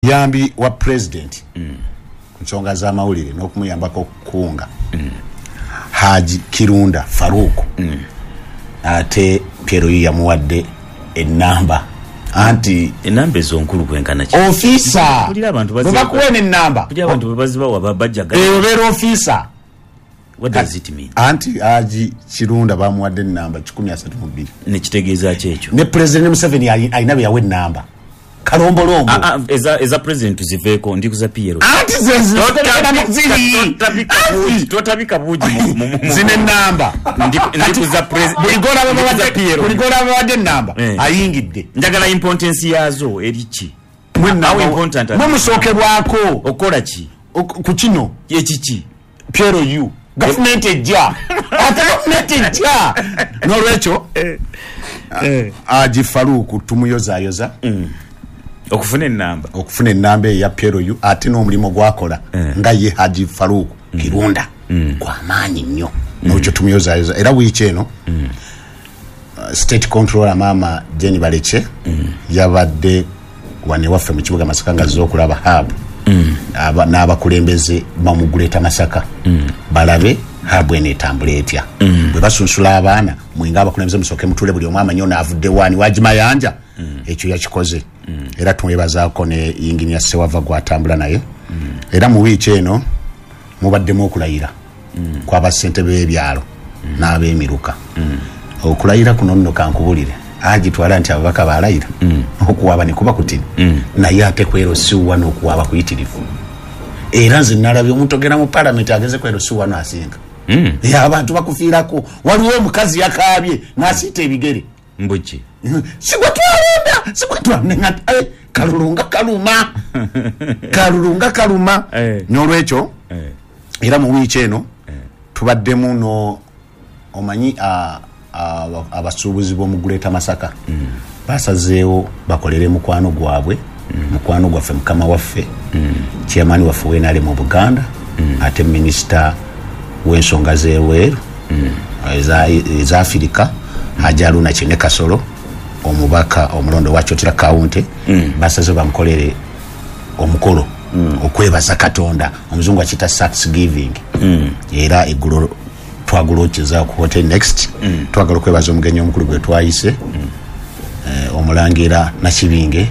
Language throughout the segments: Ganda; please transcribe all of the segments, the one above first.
Omuyambi wa president ku nsonga z'amawulire n'okumuyambako okukunga, Haji Kirunda Faruku, ate PLU yamuwadde enamba anti Enamba ezo nkulu kwenkana ki? Officer. Mpulira abantu Bwe bakuwa eno enamba, Mpulira abantu bwe bazibawa bajja. Obeera officer. What does it mean? Anti Haji Kirunda bamuwadde enamba 132. Nekitegeeza ki ekyo? Ne President Museveni alina be yawa enamba kalombolombo. Ah, ah, eza president tuziveeko, ndi kuza PLU. Anti zeziri. Totabika buugi Zino enamba ndikuza buli golaba bawadde enamba ayingidde. Njagala importance yaazo eri ki? How important are Mwe musookebwako. Okola ki? Ku kino. Ekiki? PLU gavumenti ejja, ate gavumenti ejja. N'olwekyo Haji Faruku tumuyozayoza okufuna enamba. Okufuna enamba eyo ya PLU, ate n'omulimu gwakola nga ye Haji Faruku Kirunda gwamaanyi nnyo. N'olwekyo tumuyozayoza. Era wiiki eno state controller Maama Jane Baleke yabadde wano ewaffe mu kibuga Masaka nga azze okulaba hub n'abakulembeze bamuguleta Masaka, balabe hub eno etambula etya. Bwe basunsula abaana, mwenga abakulembeze musooke mutule, buli omu amanyi ono avudde waani wagimayanja. Ekyo yakikoze era tumwebazaako ne yinginiya Sewava gwatambula naye. Era mu wiiki eno mubaddemu okulayira kw'abassentebe b'ebyalo n'ab'emiruka. Okulayira kuno nno kankubulire, agitwala nti ababaka balayira okuwaaba ne kuba kutini, naye ate kwero siwa n'okuwaaba kuyitirivu. Era nze nalabye omuntu ogenda mu palamenti ageze kwero siwa n'asinga. Abantu bakufiirako. Waliwo omukazi yakaabye n'asiita ebigere. Mbuki? Sigwe twalonda, sigwe twalonda. Kalulu nga kaluma, kalulu nga kaluma. N'olwekyo era mu wiiki eno tubaddemu no omanyi abasuubuzi b'omu Greater Masaka basazeewo bakolere mukwano gwabwe, mukwano gwaffe, mukama waffe, chairman waffe w'NRM mu Buganda, ate minisita w'ensonga z'ebweru eza Afirika, Haji Haruna Kyene Kasolo, omubaka omulondo wa Kyotera County. Basazeewo bamukolere omukolo okwebaza Katonda, omuzungu akiyita thanksgiving. Era eggulo twagulokeza ku Hotel Next. Twagala okwebaza omugenyi omukulu gwe twayise, omulangira Nakibinge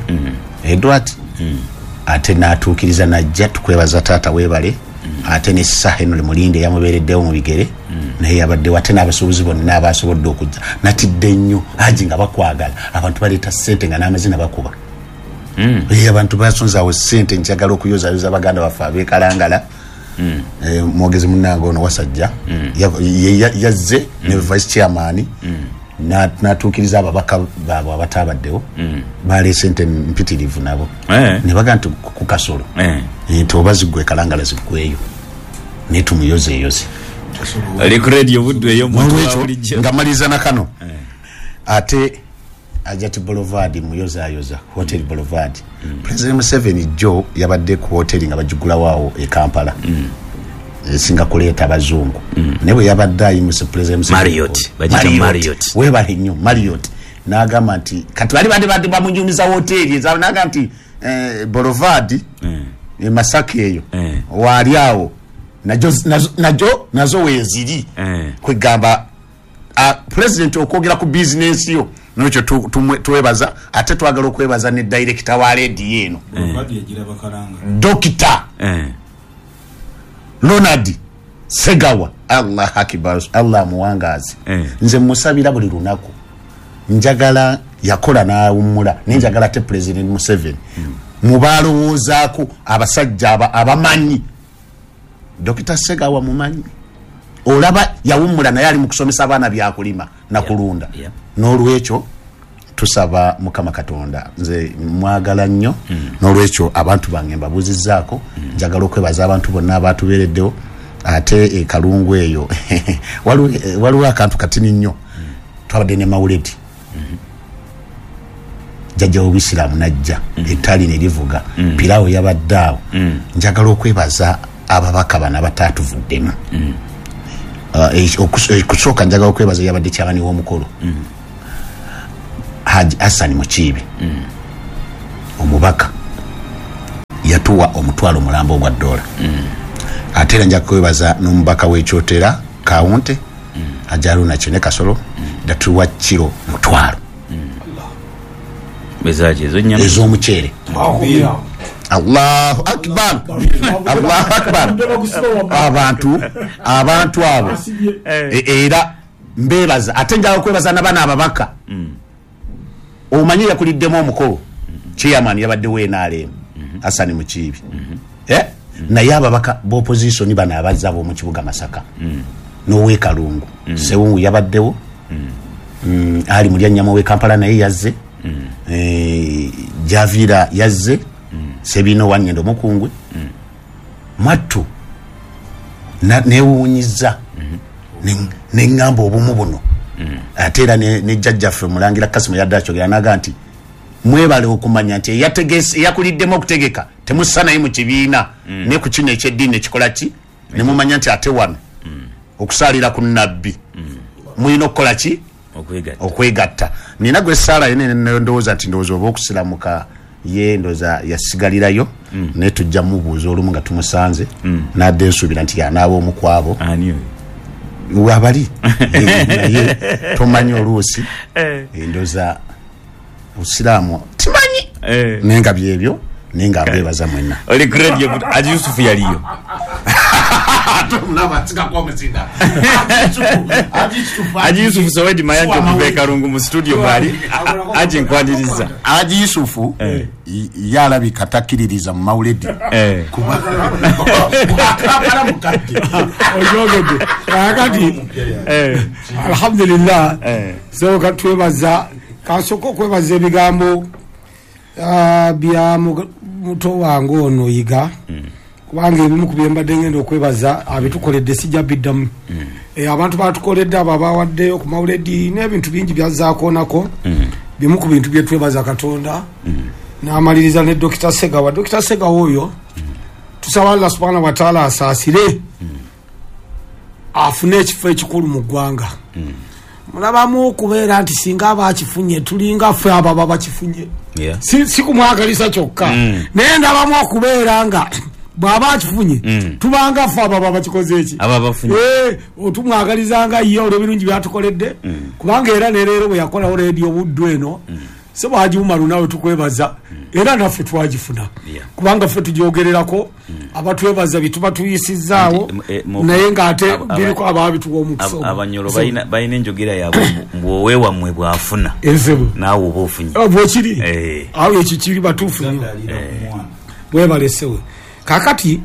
Edward, ate n'atuukiriza najja. Tukwebaza taata, weebale. Ate ne Sir Henry Mulinde yamubeereddewo mu bigere, naye yabaddewo, ate n'abasuubuzi bonna abasobodde okujja. Natidde nnyo Haji nga bakwagala, abantu baleeta ssente nga n'amazina bakuba. Abantu basonze awo ssente. Njagala okuyozayoza baganda baffe abeekalangala. Mwogezi munnange ono Wasajja yazze ne vice chairman n'atuukiriza ababaka baabwe abatabaddewo. Baleese ente mpitirivu nabo ne baga nti ku Kasolo nti oba ziggwe Kalangala ziggweyo, naye tumuyozeeyoze. Ali ku Radio Buddu eyo muntu wa N'olwekyo bulijjo. nga maliriza na kano, ate Ajati Boulevard muyozayoza, Hotel Boulevard. President Museveni jjo yabadde ku hoteri nga bagigulawo awo e Kampala, esinga kuleeta abazungu, naye bwe yabadde ayimuse President Museveni Marriott, bagiyita Marriott. Weebale nnyo, Marriott. N'agamba nti kati bali badde bamunyumiza hoteri n'agamba nti Boulevard e Masaka eyo waali awo nazo weeziri. Kwegamba president okwogera ku bizinensi yo, nolwekyo twebaza. Ate twagala okwebaza ne director wa rediyo eno, Boulevard yagiraba Kalanga. Dokita Ronald Segawa. Allah akibar, Allah amuwangaazi. Nze musabira buli lunaku, njagala yakola n'awummula, naye njagala ate President Museveni mubalowoozaako abasajja abamanyi. Dokita Segawa mumanyi, olaba yawummula naye ali mu kusomesa abaana byakulima nakulunda. N'olwekyo tusaba Mukama Katonda, nze mwagala nnyo. N'olwekyo abantu bange mbabuuzizzaako. Njagala okwebaza abantu bonna abatubeereddewo. Ate ekalungu eyo waliwo akantu katini nnyo. Twabadde ne mawuledi jjajja w'obuyisiraamu najja, ettali ne livuga, pirawo yabadde awo. Njagala okwebaza ababaka bano abatatuvuddemu. Kusooka njagala okwebaza yabadde kyabani w'omukolo, Haji Hassan Mukiibi, omubaka. Yatuwa 500,000 ogwa dola. Ate era nja kwebaza n'omubaka w'ekyotera Kawunte Ajaruna Kyene Kasolo yatuwa kiro 500. Bezaje ezo nyama ez'omuceere. Allahu akbar, Allahu akbar. Abantu abo era mbebaza. Ate njagala okwebaza n'abaana ababaka. Omanyi yakuliddemu omukolo chairman yabadde we NRM Hassan Mukiibi, naye ababaka b'opposition bano abazza ab'omu kibuga Masaka n'owekalungu Sewungu yabaddewo, Ali Mulyanyama w'e Kampala naye yazze, Javira yazze, Sebino Wanyendo Mukungwe mwattu newuunyiza neŋŋamba obumu buno. Ate era ne jjajjaffe Mulangira Kasimu yadde akyogera n'agamba nti mwebale okumanya nti eyakuliddemu okutegeka temussa naye mu kibiina ne ku kino ekyeddiini ekikola ki, ne mumanya nti ate wano okusaalira ku nabbi mulina okukola ki? Okwegatta. Nina gwe essaala yene ndowooza nti ndowooza oba okusiramuka ye ndowooza yasigalirayo, naye tujja mubuuza olumu nga tumusanze n'adde nsuubira nti yanaaba omu ku abo wabali naye tomanyi oluusi ndowooza obusiraamu timanyi naye nga byebyo, naye nga mbebaza mwenna. Oli ku radio Haji Yusufu yaliyo. Haji Yusufu Sowedi Mayanja okuva e Kalungu mu studio mwali. Haji nkwaniriza. Haji Yusufu yalabika takkiririza mu mawuledi. Kampala mukadde. Oyogedde. Kakati alhamdulillah so katwebaza kasooka okwebaza ebigambo bya muto wange ono Yiga, kubanga ebimu ku bye mbadde ngenda okwebaza abitukoledde sijja biddamu. Abantu batukoledde abo abawaddeyo ku mawuledi n'ebintu bingi byazaakoonako. Bimu ku bintu bye twebaza Katonda. N'amaliriza ne Dr. Segawa. Dr. Segawa oyo tusaba Allah subhanahu wa ta'ala asaasire afune ekifo ekikulu mu ggwanga. Mulabamu okubeera nti singa abakifunye tulinga ffe abo ababa bakifunye. Si kumwagalisa kyokka, naye ndabamu okubeera nga bw'aba akifunye tubanga ffe abo ababa bakikoze eki otumwagalizanga ye olw'ebirungi byatukoledde, kubanga era ne leero bwe yakolawo leediyo Buddu eno so Haji Umaru nawe tukwebaza era naffe twagifuna, kubanga ffe tugyogererako abatwebaza bituba tuyisizaawo naye ng'ate biriko abaabituwa omukisa. Abanyolo balina enjogera yaabwe mbu oweewammwe bw'afuna naawe oba ofunye bwekiri awo ekyo kiri batuufu nnyo bwebalesewe. Kakati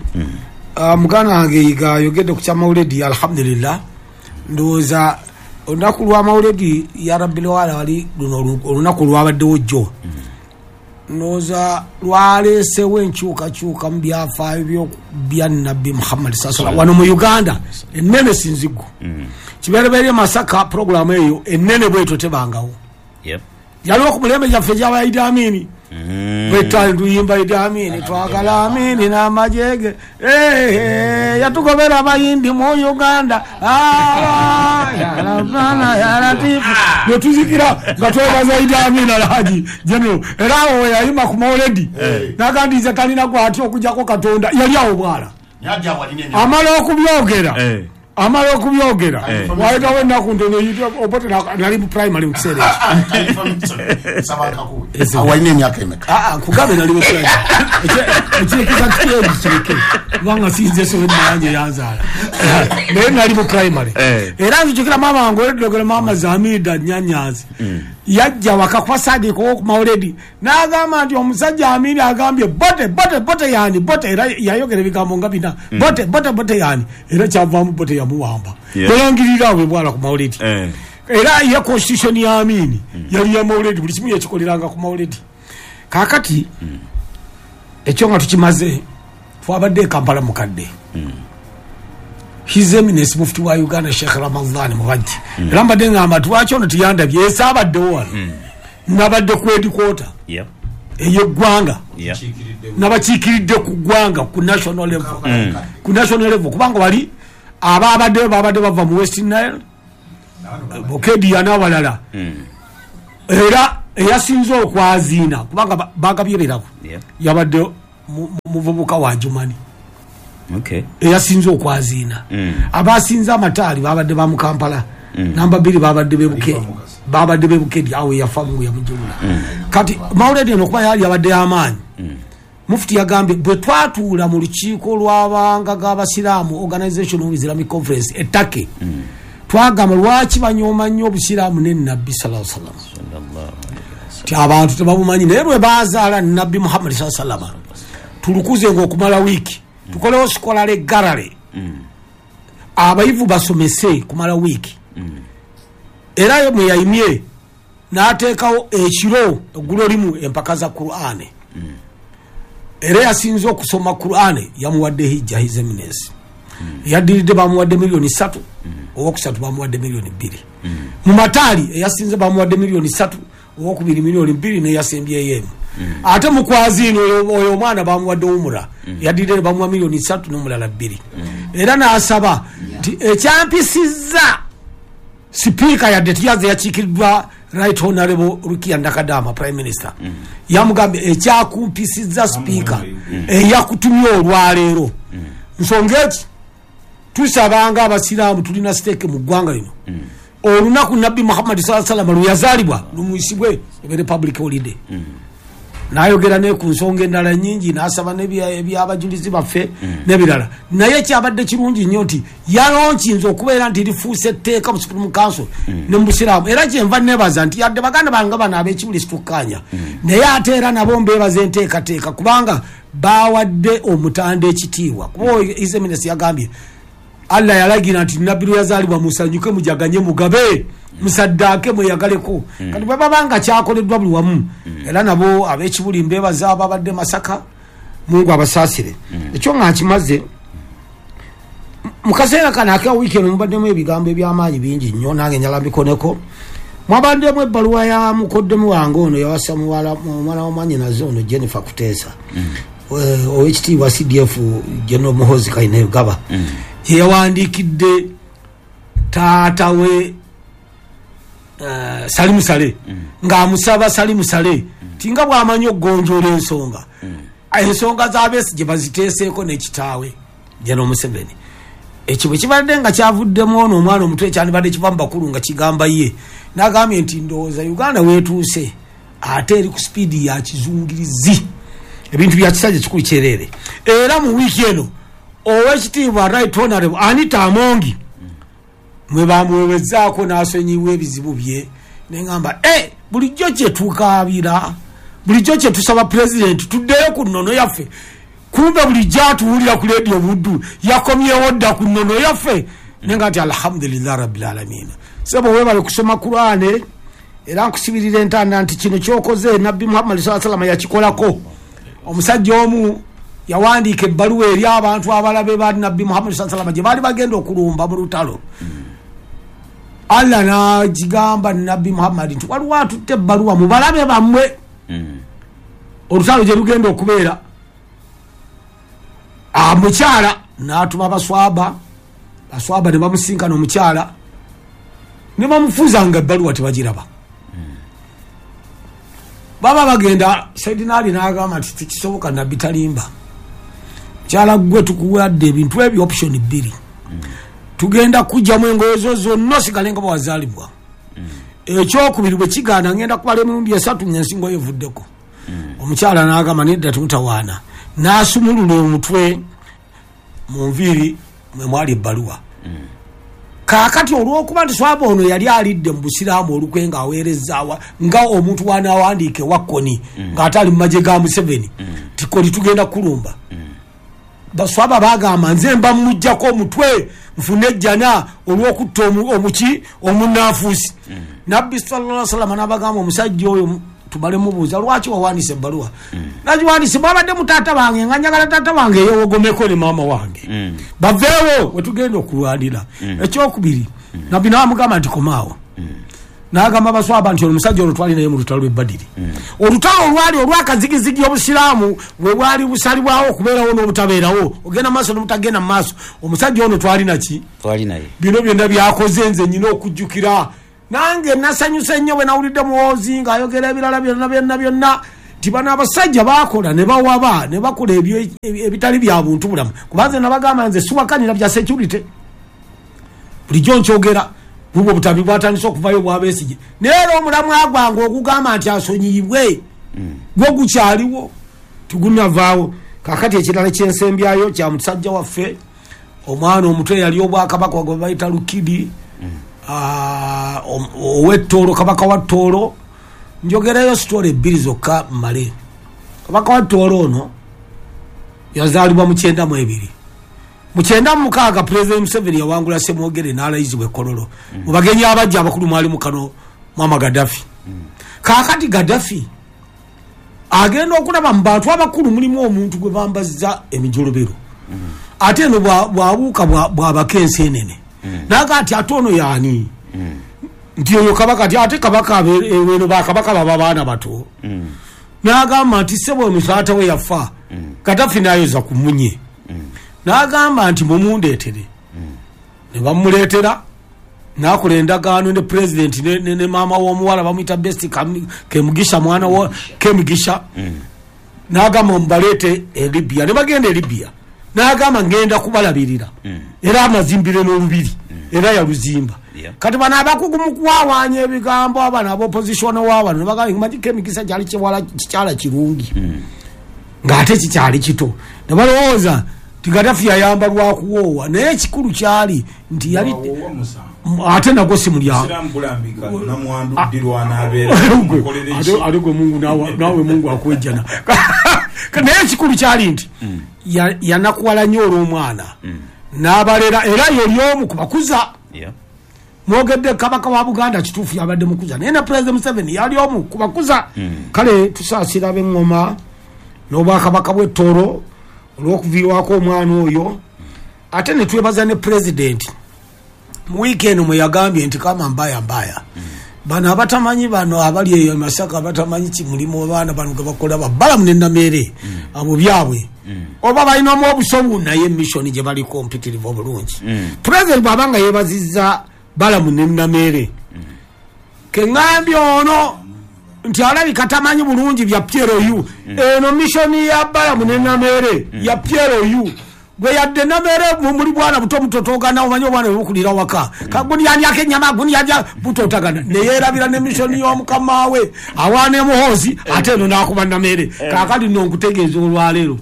muganda wange Yiga ayogedde ku kyamawuledi, alhamdulillah ndowooza olunaku lw'amawuledi ya Rabbil wala wali luno olunaku lwabaddewo jjo, ndowooza lwaleesewo enkyukakyuka mu byafaayo bya Nabbi Muhammad sallallahu wano mu Uganda ennene sinzigu. Kibereberye Masaka puroguramu eyo ennene bwetyo tebangawo. Yaliwo ku mulembe gyaffe gy'aba Idi Amini, bwetwali tuyimba Idi Amini twagala Amini n'amajege yatugobera abayindi mu Uganda ya Latifu netuzikira nga twebaza Idi Amini Alhaji General. Era awo yayima ku mawuledi n'agamba nze talina gw'atya okuggyako Katonda, yali awo bwala amala okubyogera wayitawo ennaku ntono Obote nali mu primary mu kiseera ekyo. Walina emyaka emeka? Nkugambe nali mu primary ekirekeza kiri kireke kubanga sinze Sowedi Mayanja yanzaala, naye nali mu primary. Era nzijukira maama wange olwedogera maama Zamida Nyanyazi yajja waka kuba Sadiq ow'oku mawuledi n'agamba nti omusajja Amini agambye bote bote bote yani bote, era yayogera ebigambo nga bina bote bote bote yani, era kyavaamu bote yamuwamba yalangirira awo ebwala ku mawuledi. Era ye constitution ya Amini yali ya mawuledi, buli kimu yakikoleranga ku mawuledi. Kaakati ekyo nga tukimaze twabadde e Kampala mukadde His Eminence Mufti wa Uganda Sheikh Ramadhan Mubajje, era mbadde ngamba lwaki ono tiyandabye esaabaddewo wano, nabadde ku headquarter ey'eggwanga nabakiikiridde ku ggwanga ku national level, ku national level kubanga wali ababaddeyo babadde bava mu West Nile Bokedia n'abalala, era eyasinze okwaziina kubanga bagabye ebirabo yabadde muvubuka wa Jumani. Eyasinze okwaziina. Abasinze amataali babadde ba mu Kampala. Namba 2 babadde bebuke. Babadde bebukedi awo yafa Mungu yamujulula. Kati Mauledi eno kuba yali abadde amaanyi. Mufti yagambye bwe twatuula mu lukiiko lw'abanga g'abasiraamu Organization of Islamic Conference e Turkey. Twagamba lwaki banyooma nnyo obusiraamu ne Nabbi sallallahu alaihi wasallam. Ti abantu tebabumanyi naye bwe bazaala Nabbi Muhammad sallallahu alaihi wasallam. Tulukuze ng'okumala wiiki. Tukolewo scholarly gallery. Abayivu basomese kumala wiiki. Era mwe yayimye n'ateekawo ekiro eggulo limu empaka za Qur'ane. Era yasinze okusoma Qur'ane yamuwadde hijja His Eminence. Yaddiridde bamuwadde milioni 3, owokusatu bamuwadde milioni 2. Mu mataali eyasinze bamuwadde milioni 3, owokubiri milioni 2 n'eyasembyeyo emu. Ate mu kwaziino oyo omwana bamuwadde umura, yaddiridde bamuwa milioni 3 n'omulala 2. Era n'asaba nti ekyampisizza Sipiika yadde tiyaze yakiikiddwa Right Honorable Rukia Ndakadama Prime Minister. Yamugambye ekyakumpisizza sipiika eyakutumye olwaleero. Nsonga eki tusabanga abasiraamu tulina siteeke mu ggwanga lino. Olunaku Nabbi Muhammad sallallahu alaihi wasallam lwe yazaalibwa lumuyisibwe ebere public holiday. N'ayogera ne ku nsonga endala nnyingi n'asaba n'ebyabajulizi baffe n'ebirala. Naye kyabadde kirungi nnyo nti yalonkinze okubeera nti lifuuse etteeka mu Supreme Council ne mu Busiraamu. Era kyenva neebaza nti yadde baganda bange bano ab'ekibuli situkkaanya, naye ate era nabo mbeebaza enteekateeka kubanga bawadde omutanda ekitiibwa. Kuba His Eminence yagambye Allah yalagira nti Nabbi lwe yazaalibwa musanyuke mujaganye mugabe musaddaake mweyagaleko. Kati bwe baba nga kyakoleddwa buli wamu, era nabo ab'ekibuli mbeebaza ababadde Masaka, Mungu abasaasire. Ekyo nga nkimaze mu kaseera kano aka wiiki eno mubaddemu ebigambo eby'amaanyi bingi nnyo, nange njala mbikoneko. Mwabaddemu ebbaluwa ya mukoddemu wange ono yawasa muwala wa mwannyinaze ono Jennifer Kuteesa, owekitiibwa CDF General Muhoozi Kainerugaba, gye yawandiikidde taata we Salimu Saleh, ng'amusaba Salimu Saleh tinga bw'amanyi okugonjoola ensonga, ensonga z'Abesigye baziteeseeko n'ekitaawe General Museveni. Ekyo bwe kibadde nga kyavuddemu ono omwana omuto ekyandibadde kiva mu bakulu nga kigamba ye, n'agambye nti ndowooza Uganda weetuuse ate eri ku sipiidi ya kizungirizi, ebintu bya kisajja kikulu kyereere. Era mu wiiki eno owekitiibwa Right Honorable Anita Amongi mwe bamuwewezaako n'asonyiwa ebizibu bye, neŋŋamba bulijjo kye tukaabira, bulijjo kye tusaba pulezidenti tuddeyo ku nnono yaffe, kumbe bulijjo atuwulira ku leediyo Buddu yakomyewo dda ku nnono yaffe. Nenga nti alhamdulillah rabbil alamin. Sebo weebale kusoma Qur'ane, era nkusibirira entanda nti kino kyokoze Nabbi Muhammad sallallahu alaihi wasallam yakikolako. Omusajja omu yawandiika ebbaluwa eri abantu abalabe ba Nabbi Muhammad sallallahu alaihi wasallam gye baali bagenda okulumba mu lutalo. Allah n'agigamba Nabbi Muhammad nti waliwo atutte ebbaluwa mu balabe bammwe, olutalo gye lugenda okubeera. Omukyala n'atuma baswaba, baswaba ne bamusinkana omukyala ne bamufuuza nga ebbaluwa tebagiraba. Baba bagenda, Saidina Ali n'agamba nti tekisoboka, Nabbi talimba. Mukyala ggwe tukuwadde ebintu ebyo option 2. Tugenda kujjamu engoye zo zonna osigale nga bwewazaalibwa. Ekyokubiri bwe kigaana ngenda kubala emirundi 3 ng'ensingo yo evuddeko. Omukyala n'agamba nedda temutawaana, n'asumulula omutwe mu nviiri mwe mwali ebbaluwa. Kaakati olw'okuba nti swaba ono yali alidde mu busiraamu olukwe ng'aweerezaawa nga omuntu w'anaawandiika ewa Koni ng'ate ali mu magye ga Museveni, ti Koni tugenda kulumba. Baswaba bagamba nze mba mujjako omutwe nfune ejjana olw'okutta omuki omunnanfuusi. Nabbi sallallahu alaihi wasallam n'abagamba omusajja oyo tumale mubuuza lwaki wawandiise ebbaluwa. Nagiwandiise bwabadde mu taata wange nga njagala taata wange yeewogomeko ne maama wange, baveewo we tugenda okulwanira. Ekyokubiri Nabbi n'amugamba nti komaawo. N'agamba baswaba nti omusajja olwo twali naye mu lutalo lw'e Badiri, olutalo olwali olw'akazigizigi obusiraamu bwe bwali busalibwawo okubeerawo n'obutabeerawo, ogenda mu maaso n'obutagenda mu maaso. Omusajja ono twali naki, twali naye, bino byonna byakoze nze nyina okujjukira. Nange nasanyuse nnyo bwe nawulidde Muhoozi ng'ayogera ebirala byonna byonna byonna, Nti bano abasajja bakola ne bawaba ne bakola ebitali bya buntu bulamu. Kubanze nabagamba nze siwakanira bya security, bulijjo nkyogera, bubwo obutambi bwatandise okuvayo bwabesigye, naye era omulamwa gwange ogugamba nti asonyiyibwe gwo gukyaliwo, tugunavaawo. Kakati ekirala kyensembyayo kya musajja waffe omwana omuto eyali obwakabaka gwe bayita Lukidi, ow'Ettoolo, kabaka wa Ttoolo. Njogerayo sitole ebbiri zokka mmale. Kabaka wa Ttoolo ono yazaalibwa mu 92. Mu 96 Pulezidenti Museveni yawangula Ssemwogere n'alayizibwa e Kololo. Mu bagenyi abajja abakulu mwalimu kano Muammar Gaddafi. Kaakati Gaddafi agenda okulaba mu bantu abakulu mulimu omuntu gwe bambazza emijolobero, ate eno bwabuuka bwabaka ensenene, naga ati ate ono yaani? Nti oyo kabaka. Ti ate kabaka eno bakabaka baba baana bato. N'agamba nti ssebo ono taata we yafa. Gaddafi n'ayoza ku munye, n'agamba nti mumundeetere. Ne bamuleetera, n'akola endagaano ne pulezidenti ne maama w'omuwala bamuyita Best Kemugisha, mwana wa Kemugisha. N'agamba mubaleete e Libya, ne bagenda e Libya. N'agamba ngenda kubalabirira, era amazimbire n'olubiri, era yaluzimba. Kati bano abakugu mu kuwawaanya ebigambo, abano ab'opposition wabano ne bagamba manyi Kemigisa kyali kiwala kikyala kirungi, ng'ate kikyali kito, ne balowooza nti Gaddafi yayamba lwakuwoowa, naye ekikulu kyali nti yali ate nagwo si mulyango. Ate gwe Mungu nawe Mungu akwejjana. Naye ekikulu kyali nti yanakuwala nnyo olw'omwana n'abalera, era yoli omu ku bakuza. Mwogedde kabaka wa Buganda, kituufu yabadde mukuza, naye ne Pulezidenti Museveni yali omu ku bakuza. Kale tusaasira ab'eŋŋoma n'obwakabaka bw'Ettoolo olw'okuviirwako omwana oyo, ate ne twebaza ne pulezidenti mu wiiki eno mwe yagambye nti kama mbaya mbaya, bano abatamanyi, bano abali eyo Masaka abatamanyi kimulimu abaana bano ge bakola babalamu ne Nameere, abo byabwe oba balinamu obusobu, naye mission gye baliko mpitirivu obulungi. Pulezidenti bw'aba nga yeebazizza Balamu ne Nameere, keŋŋambye ono nti alabika tamanyi bulungi bya PLU. Eno mission ya Balamu ne Nameere ya PLU. Gwe yadde Nameere muli bwana buto mutotogana, omanyi obwana bwe bukulira waka, kaguni yalyako ennyama, guni yalya butotagana, neyeerabira ne mission y'omukama we awaana Muhoozi, ate eno n'akuba Nameere. Kaakati nno nkutegeeza olwaleero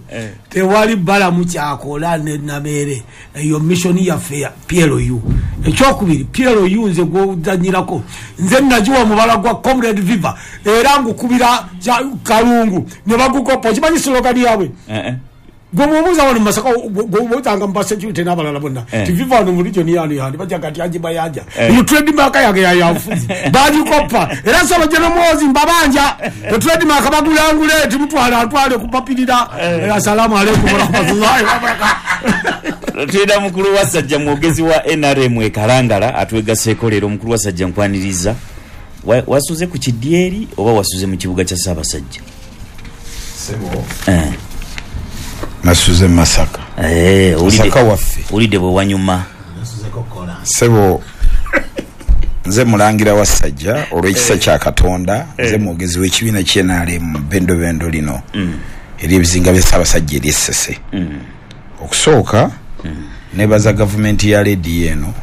tewali Balamu kyakola ne Nameere, eyo mission yaffe ya PLU. Ekyokubiri, PLU nze gwozanyirako, nze nagiwa omubala gwa Comrade Viva, era ngukubira Kalungu ne bagukopa. Okimanyi slogan yaabwe? Gwe mubuuza wano mu Masaka, bwotanga mu basecurity n'abalala bonna ti Viva wano mu region yano yandi, bajaga nti Haji Mayanja. Eyo trademark yange yayanfuzi bagikopa, era nsaba General Muhoozi mbabanja trademark bagulangule, timutwala ntwale kupapirira. Assalamu alaikum warahmatullahi wabarakatuh. Tulina mukulu wa Sajja, mwogezi wa NRM e Kalangala, atwegaseeko leero. Mukulu wa Sajja, nkwaniriza. Wasuze ku kidyeri oba wasuze mu kibuga kya Ssaabasajja? Nasuze Masaka. Masaka waffe. Owulidde bwe wanyuma? Sebo, nze mulangira wa Sajja olw'ekisa kya Katonda, nze mwogezi w'ekibiina ky'NRM bendobendo lino ery'ebizinga bya Ssaabasajja ery'Essese. Okusooka nebaza gavumenti ya lediyo eno.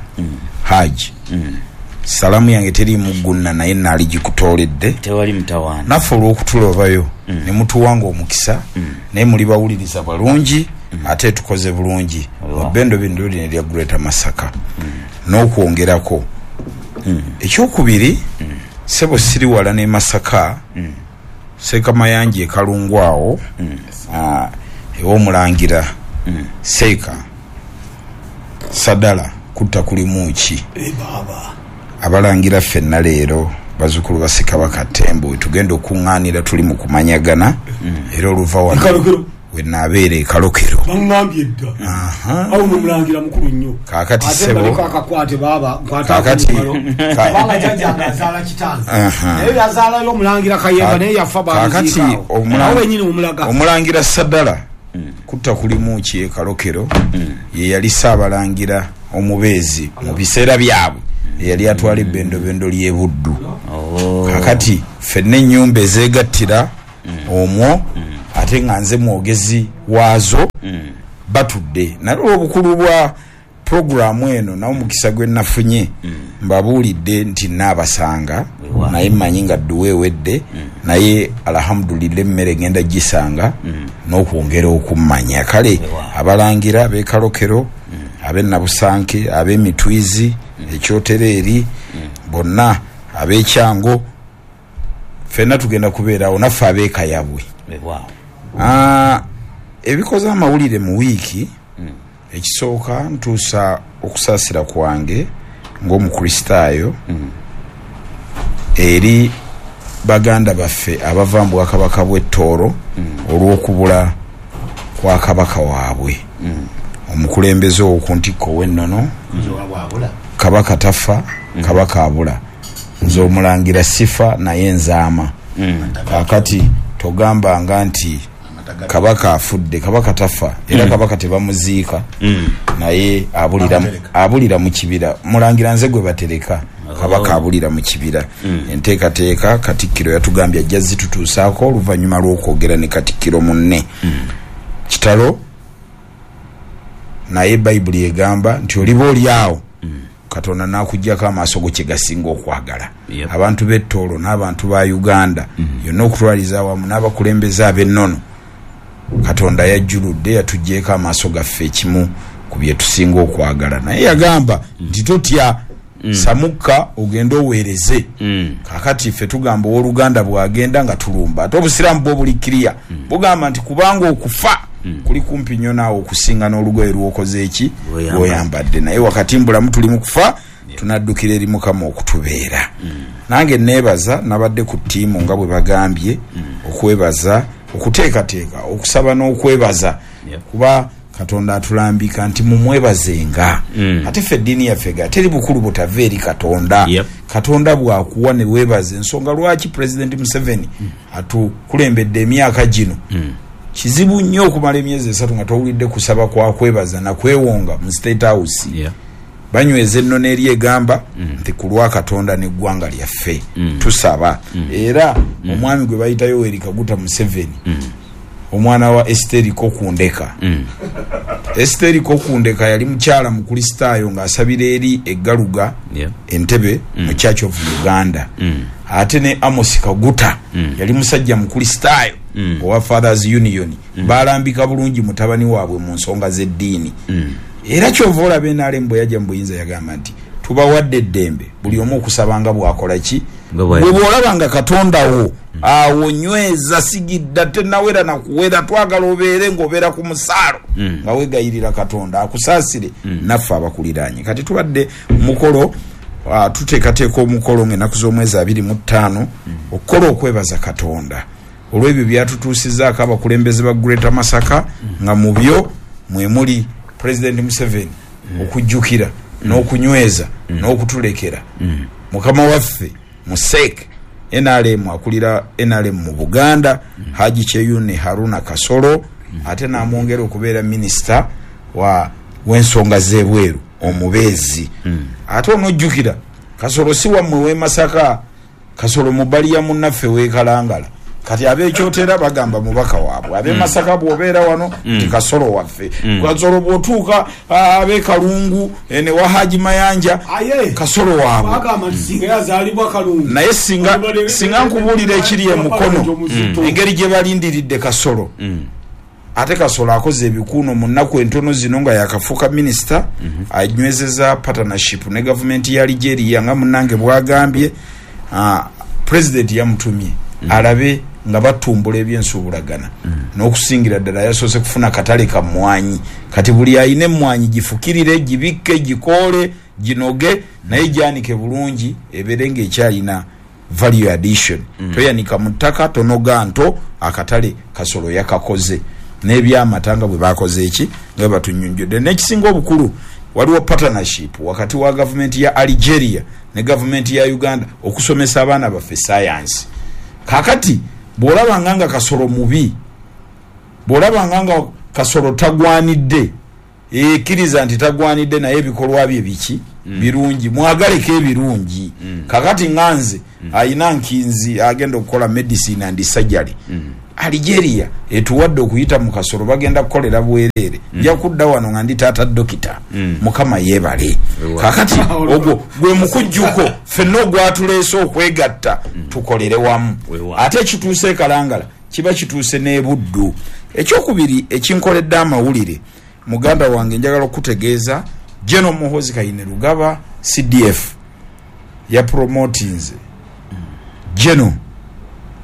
Haji, salamu yange teriimu gunna, naye naali gikutooledde. Tewali mutawaana. Naffe olw'okutulobayo ne mutuwanga omukisa, naye muli bawuliriza balungi, ate tukoze bulungi mu bendobendo lino erya Greater Masaka n'okwongerako. Ekyokubiri, sebo, siri wala ne Masaka, Seeka Mayanja e Kalungu awo, ew'omulangira Seeka Sadala. Kutta kulimu ki? Abalangira ffenna leero bazzukulu ba Ssekabaka Ttembo, tugenda okuŋŋaanira, tuli mu kumanyagana, era oluva wano wenaabeera e Kalokero. Baŋŋambye dda awo nomulangira mukulu nnyo. Kaakati ate ssebo, baliko akakwate baaba Kaakati- kubanga jjajjange azaala kitange, naye yazaalayo omulangira Kayemba, naye yafa. Kaakati bamuziikaawo awo wenyini omulaga. Omulangira Sadala kutta kulimu ki e Kalokero, ye yali Ssaabalangira omubeezi mu biseera byabwe, eyali atwala ebbendobendo ly'e Buddu. Kakati ffenna ennyumba ezeegattira Omwo ate nga nze mwogezi waazo batudde. Naye olw'obukulu bwa pulogulaamu eno n'omukisa gwe nafunye, mbabuulidde nti nnaabasanga, naye mmanyi nga dduwa ewedde, naye alhamdulillah emmere ngenda gisanga n'okwongera okummanya. Kale abalangira ab'e Kalokero, ab'e Nabusanke, ab'e Mitwizi, Ekyotereeri, bonna ab'Ekyango, ffenna tugenda kubeerawo, naffe ab'e Kayabwe. Ebikoze amawulire mu wiiki, ekisooka ntuusa okusaasira kwange ng'Omukristaayo eri baganda baffe abava mu Bwakabaka bw'e Tooro olw'okubula kwa Kabaka waabwe, omukulembeze ow'oku ntikko ow'ennono. Kabaka tafa, Kabaka abula. Nze Omulangira sifa naye nzaama. Kaakati togambanga nti Kabaka afudde. Kabaka tafa era Kabaka tebamuziika, naye abulira mu kibira. Mulangira nze gwe batereka. Kabaka abulira mu kibira. Enteekateeka Katikkiro yatugambye ajja zitutuusaako oluvannyuma lw'okwogera ne Katikkiro munne. Kitalo, naye Bayibuli egamba nti oliba oli agho Katonda n'akugyaku amaaso go kye gasinga okwagala. Abantu b'e Tooro n'abantu ba Uganda yonna okutwaliza awamu n'abakulembeze ab'ennono, Katonda yajjuludde yatugyeku amaaso gaffe ekimu ku bye tusinga okwagala. Naye yagamba nti, Totya, samukka ogende oweereze. Kaakati ife tugamba ow'oluganda bw'agenda nga tulumba. Ate Obusiraamu bwo buli kiriya, bugamba nti kubanga okufa kuli kumpi inho naawe okusinga n'olugoye lw'okoze ki? Lw'oyambadde. Naye wakati mbulamu tuli mu kufa, tunaddukira eri Mukama okutubeera. Nange neebaza nabadde ku ttiimu nga bwe bagambye okwebaza, okuteekateeka, okusaba n'okwebaza kuba Katonda atulambika nti mumwebazenga. Ate ffe eddiini yaffe ga teri bukulu butava eri Katonda. Katonda bw'akuwa ne weebaza, ensonga lwaki Pulezidenti Museveni atukulembedde emyaka gino. Kizibu nnyo okumala emyezi esatu nga towulidde kusaba kwa kwebaza na kwewonga mu State House. Banyweza ennono eri egamba nti ku lwa Katonda n'eggwanga lyaffe tusaba. Era omwami gwe bayita Yoweri Kaguta Museveni, omwana wa Esiteri Kokundeka. Esiteri Kokundeka yali mukyala Mukulisitaayo ng'asabira eri e Garuga, Entebbe mu Church of Uganda. Ate ne Amos Kaguta yali musajja Mukulisitaayo owa Fathers Union. Baalambika bulungi mutabani waabwe mu nsonga z'eddiini. Era kyova olaba nrm bwe yaja mu buyinza yagamba nti tubawadde eddembe buli omu okusaba nga bw'akola ki? Gwe bw'olaba nga Katonda wo awo nyweza sigidda tenawera na kuwera, twagala obeere ng'obeera ku musaalo nga wegayirira Katonda akusaasire naffe abakuliraanye. Kati tubadde mukolo tuteekateeka omukolo ng'ennaku z'omwezi 25 okukola okwebaza Katonda olw'ebyo by'atutuusizaako abakulembeze ba Greater Masaka nga mu byo mwe muli Pulezidenti Museveni okujjukira n'okunyweza n'okutulekera mukama waffe Museek nrm akulira nrm mu Buganda Haji Kyeyune Haruna Kasolo ate n'amwongera okubeera minisita wa w'ensonga z'ebweru omubeezi. Ate onojjukira Kasolo si wammwe w'e Masaka. Kasolo mubali ya munnaffe w'e Kalangala. Kati ab'e Kyotera bagamba mubaka waabwe. Ab'e Masaka bw'obeera wano nti Kasolo waffe. Kasolo bw'otuuka ab'e Kalungu eno ewa Haji Mayanja, Aye Kasolo waabwe. bagamba nti singa yazaalibwa Kalungu. Naye singa singa nkubuulira ekiri e Mukono, engeri gye balindiridde Kasolo. Ate Kasolo akoze ebikuuno mu nnaku entono zino nga yaakafuuka minisita, anywezeza partnership ne gavumenti ya Algeria nga munnange bwagambye. Pulezidenti yamutumye alabe nga batumbula eby'ensuubulagana n'okusingira ddala yasoose kufuna katale ka mmwanyi. Kati buli alina emmwanyi gifukirire, gibikke, gikoole, ginoge naye gyanike bulungi ebeere ng'ekyalina Value addition, toyanika mu ttaka, tonoga nto, akatale Kasolo yakakoze n'ebyamata nga bwe baakoze ki? Nga bwe batunyonnyodde. N'ekisinga obukulu waliwo partnership wakati wa gavumenti ya Algeria ne gavumenti ya Uganda okusomesa abaana baffe sayansi. Kaakati bw'olabanga nga Kasolo mubi, bw'olabanga nga Kasolo tagwanidde, Eeh kkiriza nti tagwanidde naye ebikolwa bye biki? Birungi, mwagaleko ebirungi. Kakati nga nze ayina nkinzi agenda okukola medicine and surgery, Algeria etuwadde okuyita mu kasolo, bagenda kukolera bwereere. Nja kudda wano nga ndi taata dokita. Mukama yeebale. Kakati ogwo gwe mukujjuko ffenna ogwatuleese okwegatta tukolere wamu. Ate ekituuse e Kalangala kiba kituuse n'e Buddu. Ekyokubiri ekinkoledde amawulire, muganda wange, njagala okutegeeza General Muhozi Kainerugaba, CDF, yapromotinze General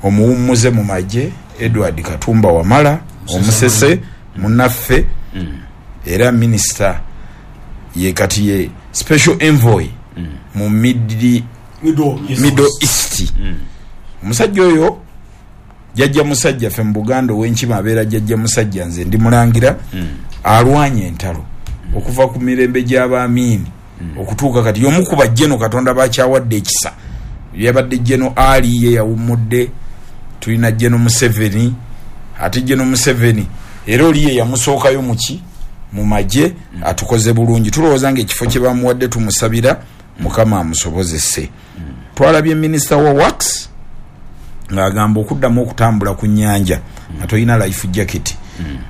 omuwummuze mu magye Edward Katumba Wamala, omusese munnaffe era minisita, ye kati ye special envoy mu Middle East. Omusajja oyo jjajja musajja. Ffe mu Buganda ow'enkima abeera jjajja musajja. Nze ndi mulangira. Alwanye entalo okuva ku mirembe gy'abaamiini okutuuka kati. Y'omu ku bajjeno Katonda bakyawadde ekisa. Yabadde General Ali, ye yawummudde. Tulina General Museveni, ate General Museveni era oli ye yamusookayo muki mu magye. Atukoze bulungi. Tulowooza nga ekifo kye bamuwadde, tumusabira Mukama amusobozese. Twalabye minisita wa works ng'agamba okuddamu okutambula ku nnyanja nga tolina life jacket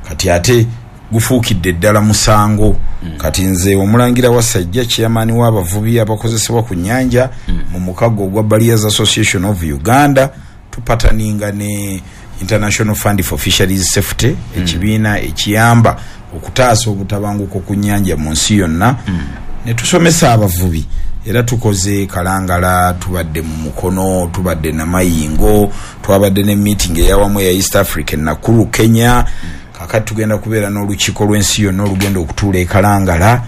kati ate gufuukidde ddala musango. Kati nze omulangira wa Sajja, chairman w'abavubi abakozesebwa ku nnyanja mu mukago ogwa Barriers Association of Uganda, tupataninga ne International Fund for Fisheries Safety, ekibiina ekiyamba okutaasa obutabanguko ku nnyanja mu nsi yonna, ne tusomesa abavubi. Era tukoze Kalangala, tubadde mu Mukono, tubadde Namayingo, twabadde ne meeting eyawamu eya East Africa, Nakuru, Kenya. Kakati tugenda kubeera n'olukiiko lw'ensi yonna olugenda okutuula e Kalangala,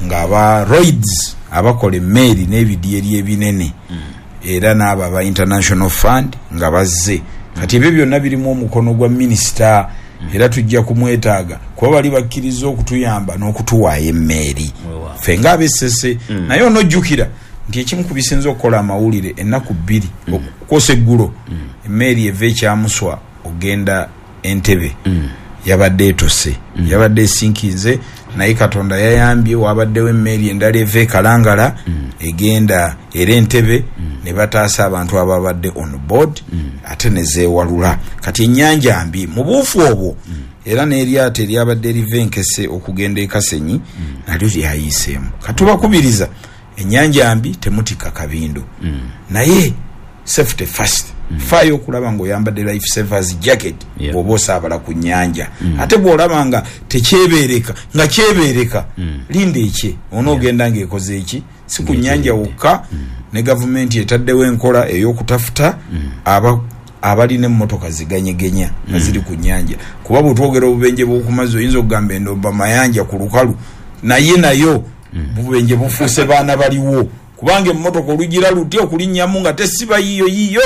ng'aba Lloyds abakola emmeeri n'ebidyeri ebinene era n'abo aba International Fund nga bazze. Kati ebyo byonna birimu omukono gwa minisita, era tujja kumwetaaga kuba bali bakkiriza okutuyamba n'okutuwaayo emmeeri ffe ng'abessese. Naye onojjukira nti ekimu ku bisinza okukola amawulire ennaku 2 okwosa eggulo, emmeeri eva ekyamuswa ogenda Entebe yabadde etose, yabadde esinkinze, naye Katonda yayambye, wabaddewo emmeeri endala eva e Kalangala egenda era Entebe, ne bataasa abantu ababadde on board ate ne zeewalula. Kati ennyanja mbi mu buufu obwo, era n'eryato eryabadde eriva Enkese okugenda e Kasenyi nalyo lyayiiseemu. Katubakubiriza, ennyanja mbi, temutikka kabindo, naye safety first. Faayo okulaba ng'oyambadde life savers jacket bw'oba osaabala ku nnyanja. Ate bw'olaba nga tekyebeereka, nga kyebeereka, linda ekye onoogenda ng'ekoze eki. Si ku nnyanja wokka, ne gavumenti etaddewo enkola ey'okutafuta abalina emmotoka ziganyegenya nga ziri ku nnyanja, kuba bwetwogera obubenje bw'okumazzi oyinza okugamba endomba mayanja ku lukalu, naye nayo bubenje bufuuse baana baliwo, kubanga emmotoka olugira luti okulinnyamu nga tesiba yiyo yiyo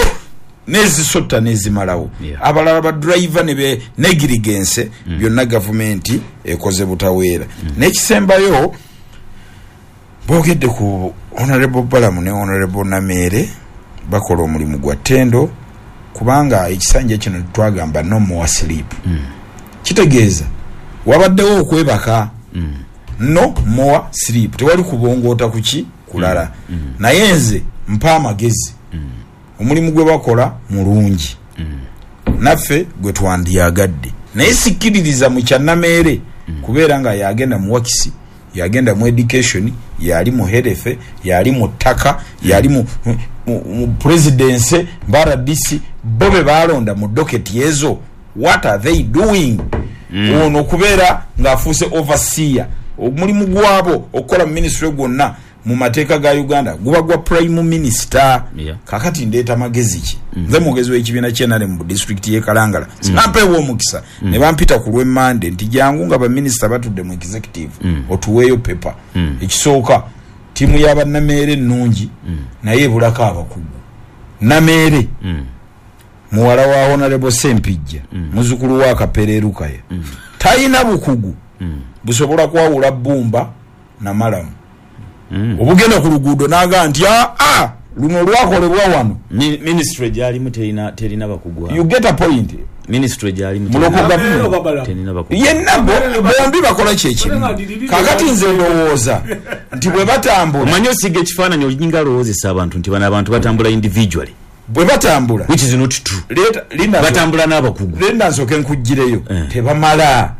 nezisotta nezimalawo. Abalala badriver ne be negligence. Byonna gavumenti ekoze butaweera. N'ekisembayo, boogedde ku Honorable Balamu ne Honorable Nameere, bakola omulimu gwa ttendo, kubanga ekisanja kino twagamba no more sleep. Kitegeeza wabaddewo okwebaka, no more sleep, tewali kubongoota kuki kulala. Naye nze mpa amagezi, omulimu gwe bakola mulungi, naffe gwe twandyagadde, naye sikkiririza mu kya Nameere kubeera nga yagenda mu works, yagenda mu education, yali mu health, yali mu ttaka, yali mu presidency, ba RDC bo be balonda mu docket ezo. What are they doing? Ono okubeera ng'afuuse overseer, omulimu gwabo okukola mu ministry gwonna mu mateeka ga Uganda guba gwa prime minister. Kakati ndeeta magezi ki? Nze mwogezi w'ekibiina kyenare mu disitulikiti y'e Kalangala. Sinampeebwa omukisa ne bampita ku lw'emmande nti jangu nga baminisita batudde mu executive otuweeyo paper. Ekisooka, ttiimu y'abannameere ennungi, naye ebulako abakugu. Nameere muwala wa Honorable Sempijja, muzukulu wa Kapere Rukaya, talina bukugu busobola kwawula bbumba namalamu. Obugenda ku luguudo n'agamba nti aa luno lwakolebwa wano. Ministry gyalimu terina bakugu abo. You get a point. Ministry gyali mu local government yenna bombi bakola kyekimu. Kakati nze ndowooza nti bwe batambula, omanyi osiga ekifaananyi olinga alowoozesa abantu nti bano abantu batambula individually, bwe batambula, which is not true. Batambula n'abakugu. Linda nsooke nkuggireyo. Tebamala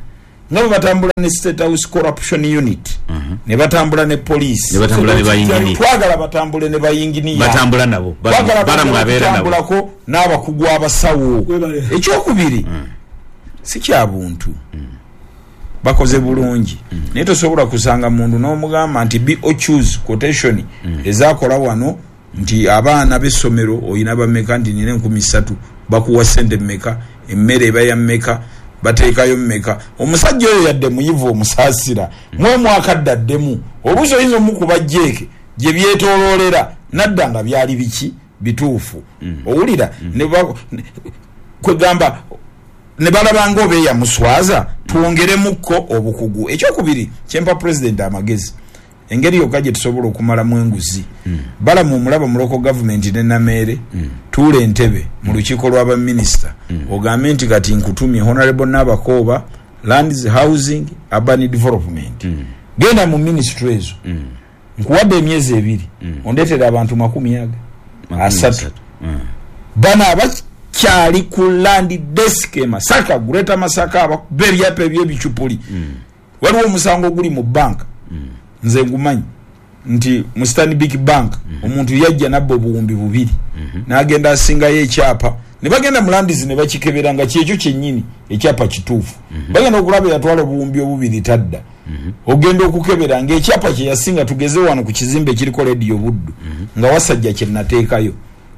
nga bwe batambula ne State House Corruption Unit, ne batambula ne police, ne batambula ne bayinginiya. Twagala batambule ne bayinginiya, batambula nabo, balamu abeera nabo, batambulako n'abakugu abasawo. Ekyokubiri, si kya buntu, bakoze bulungi, naye tosobola kusanga muntu n'omugamba nti BOQs quotation ezakola wano nti abaana b'essomero oyina bameka, nti nina 3,000, bakuwa sente mmeka, emmere eba ya mmeka, bateekayo mmeka. Omusajja oyo yadde muyivu omusaasira mwe mwakadde addemu oluusi oyinza omukuba jeeke gye byetooloolera nadda nga byali biki bituufu. Owulira kwegamba ne balaba nga oba eyamuswaza, twongeremukko obukugu. Ekyokubiri, kyempa pulezidenti amagezi, engeri yokka gye tusobola okumalamu enguzi, balamu omulaba mu local government ne Nameere, tuula entebe mu lukiiko lw'abaminisita, ogambe nti kati nkutumye Honorable Nabakooba, Lands, Housing, Urban Development, genda mu ministry ezo, nkuwadde emyezi 2, ondeetera abantu 30. Bano abakyali ku land desk e Masaka, Greater Masaka, abakuba ebyapa eby'ebicupuli. Waliwo omusango oguli mu banka, nze ngumanyi nti mu Stanbic Bank omuntu yajja nabba 2,000, n'agenda asingayo ekyapa, ne bagenda mu landizi ne bakikebera nga kyekyo kyennyini ekyapa kituufu. Bagenda okulaba yatwala 2,000 tadda. Ogenda okukebera ng'ekyapa kye yasinga, tugeze wano ku kizimbe ekiriko Radio Buddu, nga Wasajja kye nateekayo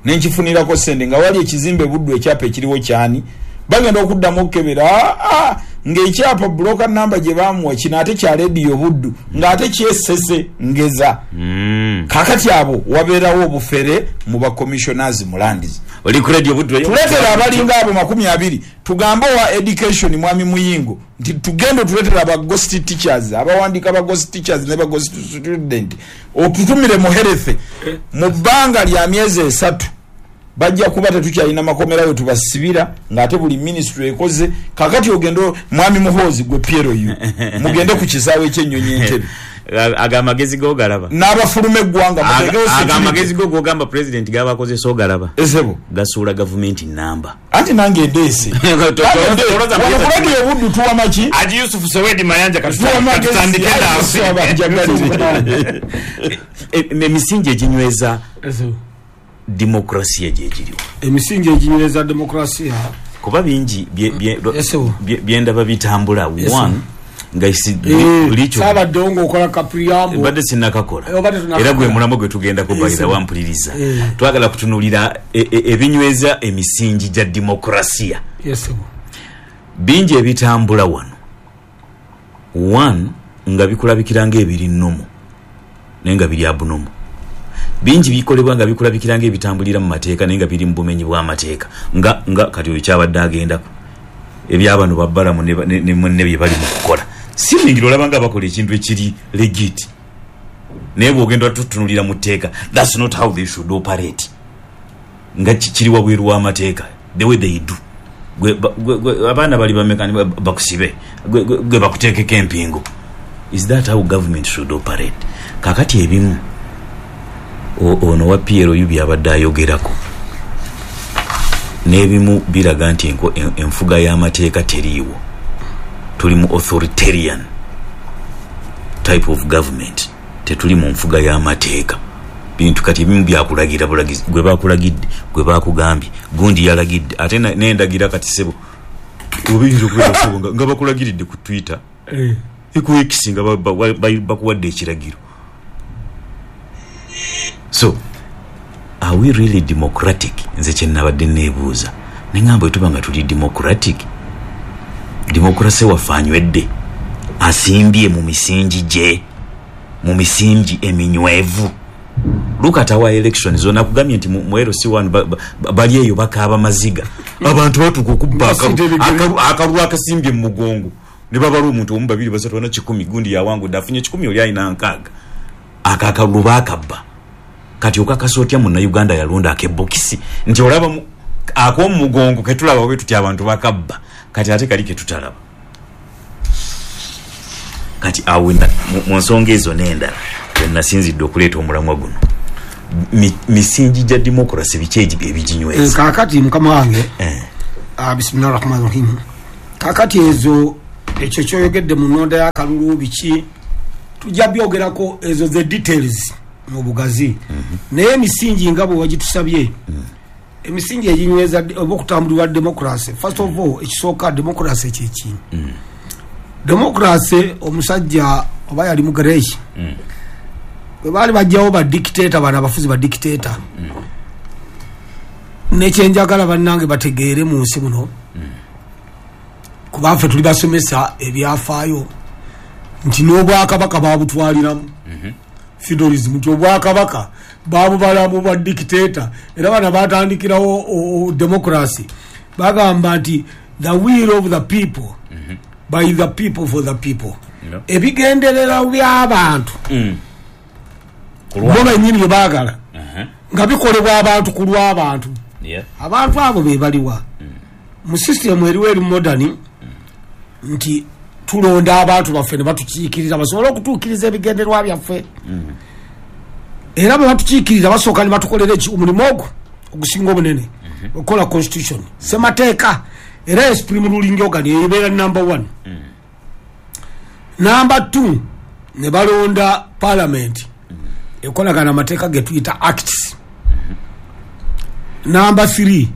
ne nkifunirako sente, nga wali ekizimbe Buddu ekyapa ekiriwo kyani. Bagenda okuddamu okukebera ng'ekyapa broker number gye bamuwa kino ate kya Radio Buddu, ng'ate kyesese ngeza. Kakati abo wabeerawo obufere mu ba commissioners mu lands. Oli ku Radio Buddu tuleetera abalinga abo 20, tugambe owa education mwami Muyingo nti tugende tuleetera aba ghost teachers, abawandiika ba ghost teachers ne ba ghost student, otutumire mu health mu bbanga lya myezi 3. Bajja kuba tetukyalina makomera we tubasibira, ng'ate buli ministry ekoze. Kakati ogende mwami Muhoozi gwe PLU, mugende ku kisaawe eky'ennyonyi Entebbe. Aga amagezi go galaba n'abafuluma eggwanga, aga amagezi go gogamba president gabakozesa ogalaba esebo gasuula gavumenti namba. Anti nange ndeese Radio Buddu tuwa maki Haji Yusuf Sowedi Mayanja katutandike naawe. Emisingi eginyweza demokrasiya gyegiriwo, emisingi eginyweza demokrasiya kuba bingi byendaba bitambula. One, nga saabaddewo ng'okola kapriyambo, mbadde sinnakakola, era gwe mulamwa gwe tugendako bayira wampuliriza. Twagala kutunuulira ebinyweza emisingi gya demokrasiya. Bingi ebitambula wano, one, nga bikulabikira ng'ebiri nnomo naye nga biri abunomo. Bingi bikolebwa nga bikulabikira ng'ebitambulira mu mateeka naye nga biri mu bumenyi bw'amateeka, nga kati oyo kyabadde agendako ebyabano babbalamu ne munne bye bali mu kukola. Simingira olaba nga bakola ekintu ekiri legit, naye bw'ogenda tutunulira mu tteeka, that's not how they should operate, nga kiri wabweru w'amateeka the way they do. Abaana bali bameka bakusibe, gwe bakuteekeko empingo. Is that how government should operate? Kakati ebimu ono wa PLU byabadde ayogerako n'ebimu biraga nti enfuga y'amateeka teriiwo. Tuli mu authoritarian type of government, tetuli mu nfuga y'amateeka. Bintu kati ebimu byakulagira bulagizi, gwe bakulagidde, gwe bakugambye, gundi yalagidde, ate n'endagira kati sebo obiyinza okubeera sebo nga bakulagiridde ku Twitter, ku X nga bakuwadde ekiragiro. So are we really democratic? Nze kye nabadde neebuuza, neŋŋamba bwe tuba nga tuli democratic, demokrasi waffe anywedde, asimbye mu misingi gye, mu misingi eminywevu. Look at our elections. Zona kugambye nti mu LC1 bali eyo bakaaba maziga, abantu batuuka okubba akalulu akasimbye mu mugongo ne babala omuntu omu, 2, 3, 4, 10, gundi yawangudde afunye 10, oli alina 60. Akakalulu baakabba. Kati okakasa otya munnayuganda yalonda akebokisi nti olaba Ak'omugongo ketulaba bwe tutya abantu bakabba, kati ate kali ketutalaba. Kati awo mu nsonga ezo n'endala wenasinzidde okuleeta omulamwa guno, misingi gya democracy biki ebiginyweza? Kaakati mukama wange, bismillahi rahmani rahim. Kaakati ezo ekyo kyoyogedde mu nnonda y'akalulu biki tujja byogerako, ezo the details mu bugazi. Naye emisingi nga bwe wagitusabye, emisingi eginyweza oba okutambulirwa democracy, first of all ekisooka democracy kyeki? Democracy omusajja oba yali mu Greece, bwe baali bajjawo ba dictator, bano abafuzi ba dictator. Nekyenjagala bannange bategeere mu nsi muno, kuba ffe tuli basomesa ebyafaayo nti n'obwakabaka babutwaliramu feudalism, nti obwakabaka babubalamu bwa dictator. Era bana batandikirawo democracy, bagamba nti the will of the people, by the people, for the people. Ebigenderera by'abantu bo bennyini bye baagala nga bikolebwa abantu ku lw'abantu. Abantu abo be baliwa mu system eriwo eri modern, nti tulonda abantu baffe ne batukiikirira basobole okutuukiriza ebigendererwa byaffe. Era bwe batukiikirira basooka ne batukolera omulimu ogwo ogusinga obunene, okukola constitution, semateeka. Era supreme ruling organ ebeera number 1. Number 2 ne balonda parliament ekolagana amateeka ge tuyita acts. Number 3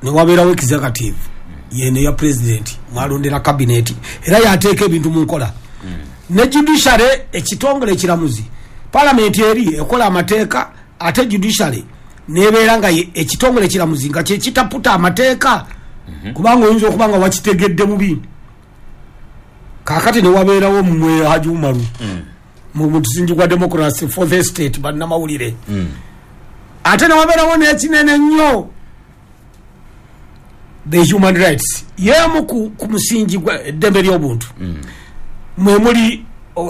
ne wabeerawo executive yene ya president, mwalondera cabinet, era yateeka ebintu mu nkola. Ne judiciary, ekitongole ekiramuzi. Parliament eri ekola amateeka, ate judiciary nebeera nga ekitongole ekiramuzi nga kyekitaputa amateeka, kubanga oyinza okuba nga wakitegedde mubi. Kaakati ne wabeerawo mmwe Haji Umaru mu musingi gwa democracy, fourth estate, bannamawulire. Ate ne wabeerawo n'ekinene ennyo, the human rights, yemu ku musingi gwa eddembe ly'obuntu. Mwe muli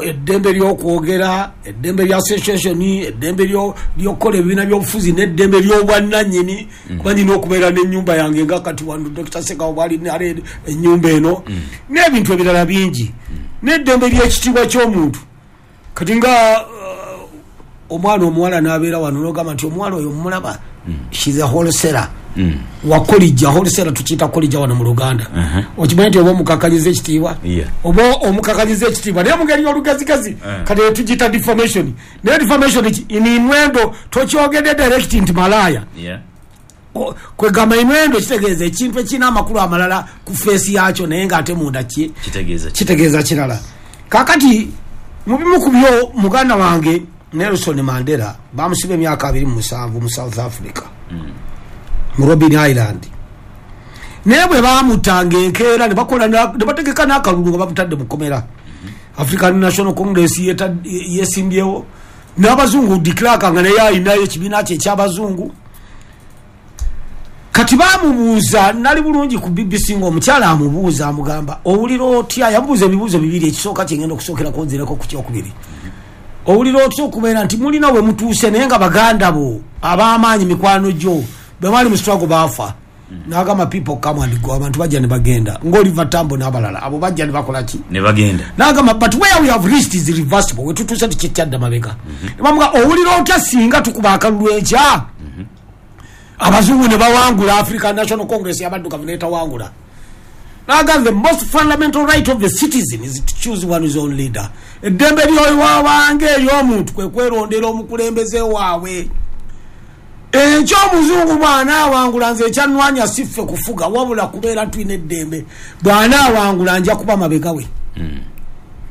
eddembe ly'okwogera, eddembe lya association, eddembe ly'okukola ebibiina by'obufuzi, n'eddembe ly'obwannannyini, kuba nina okubeera n'ennyumba yange nga kati wano Dr. Sekawo bw'ali ennyumba eno, n'ebintu ebirala bingi, n'eddembe ly'ekitiibwa ky'omuntu. Kati nga omwana omuwala n'abeera wano n'ogamba nti omuwala oyo mulaba, she's a wholesaler. Wakolijja wholesaler, tukiyita kolijja wano mu Luganda. Okimanyi nti oba omukakanyiza ekitiibwa, oba omukakanyiza ekitiibwa naye mungeri y'olugezigezi, kati tugiyita defamation. Naye defamation innuendo, tokyogedde direct nti malaaya. Kwegamba innuendo kitegeeza ekintu ekirina amakulu amalala ku feesi yakyo, naye ng'ate munda ki kitegeeza kirala. Kaakati mu bimu ku byo, muganda wange Nelson Mandela bamusiba emyaka 27 mu South Africa, mu Robben Island. Naye bwe bamutanga enkeera ne bakola ne bategeka n'akalulu nga bamutadde mu kkomera. African National Congress yesimbyewo n'abazungu, de Klerk nga naye alinayo ekibiina kye eky'abazungu. Kati bamubuuza, nali bulungi ku BBC ng'omukyala amubuuza, amugamba owulira otya? Yamubuuza ebibuuzo bibiri, ekisooka kyengenda okusookerako nzireko ku kyokubiri. Owulira otya okubeera nti mulina we mutuuse naye nga baganda bo ab'amaanyi mikwano gyo bwe bali mu struggle baafa? N'agamba people come and go, abantu bajja ne bagenda, ng'Oliver Tambo n'abalala abo bajja ne bakola ki? Ne bagenda. N'agamba but where we have reached is irreversible, we tutuuse tukikyadda mabega. Ne bamuga owulira otya singa tukuba akalulu enkya abazungu ne bawangula, African National Congress y'abaddugavu n'etawangula? N'agamba the most fundamental right of the citizen is to choose one's own leader. Eddembe ly'owange ery'omuntu kwe kwerondera omukulembeze waabwe. Enkya omuzungu bw'anaawangula, nze ekyannwanya si ffe kufuga, wabula kubeera tulina eddembe. Bw'anaawangula nja kuba mabega we.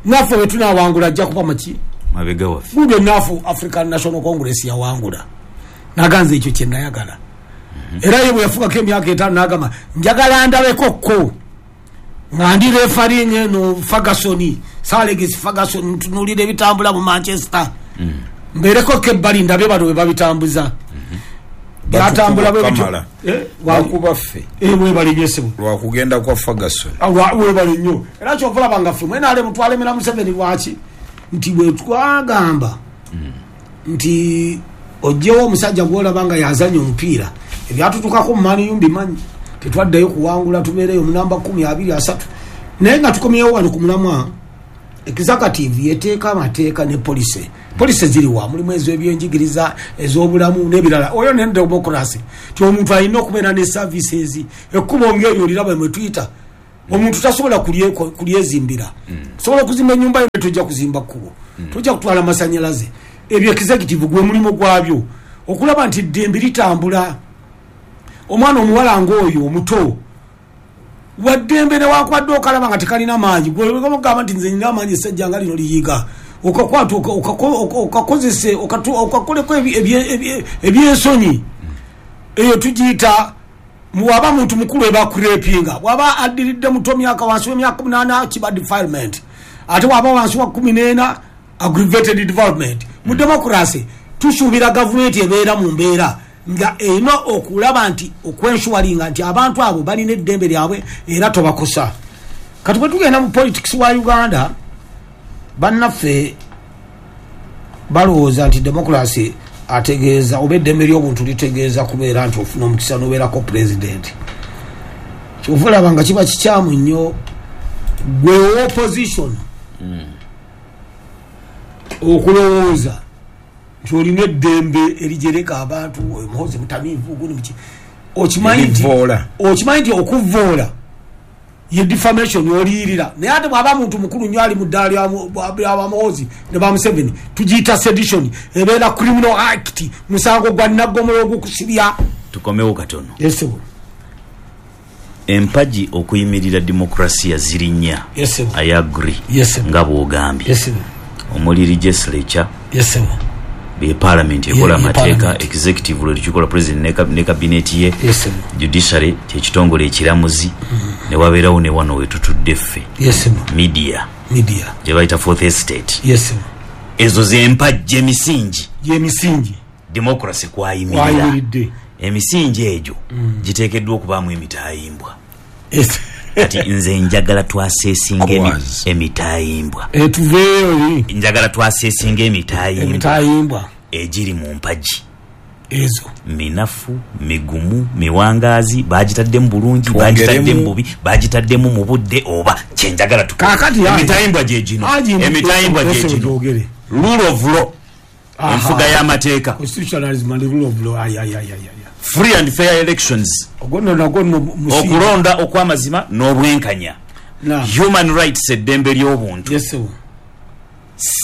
Naffe bwe tunaawangula ajja kuba maki? Mabega waffe. Good enough, African National Congress yawangula. Naganze ekyo kye nayagala. Era ye bwe yafugako emyaka 5 n'agamba njagala ndabeko ko nga ndi refereeing eno Ferguson, Sir Alex Ferguson, ntunuulira ebitambula mu Manchester. Mbeereko ko ebbali ndabe bano bwe babitambuza. Byatambula bwe bityo. Bakuba ffe. Webale nnyo ssebo. Lwakugenda kwa Ferguson. Webale nnyo. Era kyova olaba nga ffe mwena ale mutwalemera Museveni lwaki? Nti bwe twagamba nti oggyewo omusajja gw'olaba nga yazannya omupiira, Ebyatutukako mu Man U mbimanyi, tetwaddayo kuwangula, tubeereyo mu namba 10 2 3. Naye nga tukomyewo wano ku mulamwa, executive yeteeka amateeka ne policy. Policy ziriwa? Mulimu ez'ebyenjigiriza, ez'obulamu n'ebirala. Oyo ne democracy ti omuntu alina okubeera ne services. Ekkubo ng'eryo oliraba mwe tuyita, omuntu tasobola kulyezimbira. Sobola okuzimba ennyumba yo, tojja kuzimba kkubo, tojja kutwala masanyalaze. Ebyo executive gwe mulimu gwabyo okulaba nti ddembe litambula. Omwana omuwala ng'oyo omuto waddembe newakwadde okalaba nga tekalina maanyi, gwegamba nti nze nina amaanyi, essajja nga lino liyiga, okakwata okakozese okakoleko ebyensonyi. Eyo tugiyita, bwaba muntu mukulu eba kurepinga, bwaba addiridde muto myaka wansi w'emyaka 8 kiba defilement, ate waba wansi wa 14 aggravated development. Mu democracy tusuubira gavumenti ebeera mu mbeera nga erina okulaba nti okwenshuwalinga nti abantu abo balina eddembe lyabwe era tobakosa. Kati bwe tugenda mu politics wa Uganda, bannaffe balowooza nti democracy ategeeza oba eddembe ly'obuntu litegeeza kubeera nti ofuna omukisa n'obeerako president. Kyova olaba nga kiba kikyamu nnyo gwe opposition okulowooza nti olina eddembe erijereka abantu, oyo Muhoozi mutamiivu, gundi muki. Okimanyi nti Erivoola. Okimanyi nti okuvoola ye defamation, oliyirira. Naye ate bw'aba muntu mukulu nnyo ali mu ddaala lya ba Muhoozi ne ba Museveni, tugiyita sedition, ebeera criminal act, musango gwa naggomola ogukusibya. Tukomewo katono. Yesebo. Empagi okuyimirira demokrasiya ziri nnya. Yesebo. I agree. Yesebo. Nga bw'ogambye, Yesebo. omuli legislature, Yesebo. be parliament ekola Ye amateeka, parliament. executive lwe lukikola president ne cabinet ye, Yesebo. judiciary kyekitongole ekiramuzi, ne wabeerawo ne wano wetutudde ffe, Yesebo. media, Media. gye bayita fourth estate. Yesebo. Ezo zempagi, emisingi Gyemisingi democracy kwayimirira. Kwayimiridde. Emisingi egyo giteekeddwa okubaamu emitayimbwa. Yes. Kati nze njagala twaseesinga Cause. emitayimbwa. Tuveeyo eri. Njagala twaseesinga emitayimbwa Emitayimbwa egiri mu mpagi ezo. Minafu, migumu, miwangaazi, bagitaddemu bulungi, Twongeremu. bagitaddemu bubi, bagitaddemu mu budde, oba kyenjagala tukole. Kaakati Emitayimbwa gye gino. Haji, Emitayimbwa gye Yosef gino: gyogere. Rule of law, Aha. enfuga y'amateeka, Constitutionalism and rule of law. Ay, ay, ay, ay, ay. free and fair elections, Ogwo nno nagwo nno musingi. Okulonda okw'amazima n'obwenkanya, Naam. human rights, eddembe ly'obuntu, Yes, sir.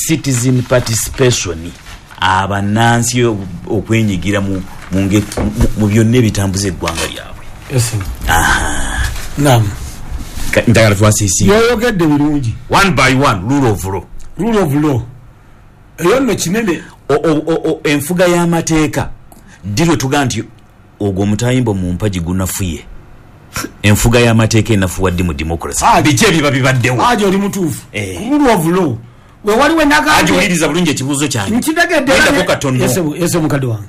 citizen participation, abannansi okwenyigira mu byonna ebitambuza eggwanga lyabwe. Yes, sir. Naam. Njagala twasiisinga Yoyogedde birungi. One by one. Rule of law. Rule of law eyo nno kinene. Enfuga y'amateeka, ddi lwe tugaa nti ogwo omutayimbo mu mpagi gunafuye? Enfuga y'amateeka enafuwa ddi mu democracy? Ah, Biki ebiba bibaddewo? Haji, oli mutuufu. Eh. Rule of law we waliwo Haji, nagambye. wuliriza bulungi ekibuuzo kyange. Nkitegedde. Wendako katono. Yes, mukadde wange.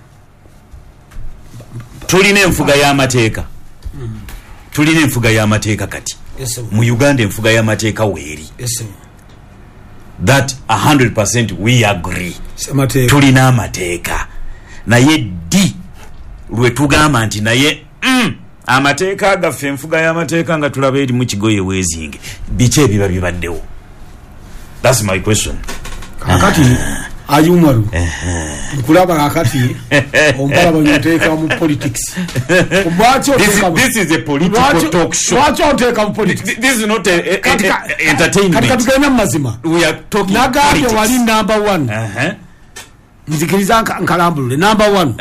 Tulina enfuga y'amateeka, tulina enfuga y'amateeka kati Yes, mu Uganda. Enfuga y'amateeka weeri, Yes, that 100% we agree. Semateeka. Tulina amateeka, naye ddi lwe tugamba nti naye amateeka gaffe, enfuga y'amateeka nga tulaba erimu kigoye weezinge? Biki ebiba bibaddewo? That's my question. Kakati Haji Umaru, nkulaba kakati ompalaba nyoteeka mu politics. Lwaki This is a political talk show. Lwaki oteeka mu politics? This is not Kati entertainment. Katugende mu mazima. We are talking Nagambye politics. wali number one. Nzikiriza nkalambulule number one.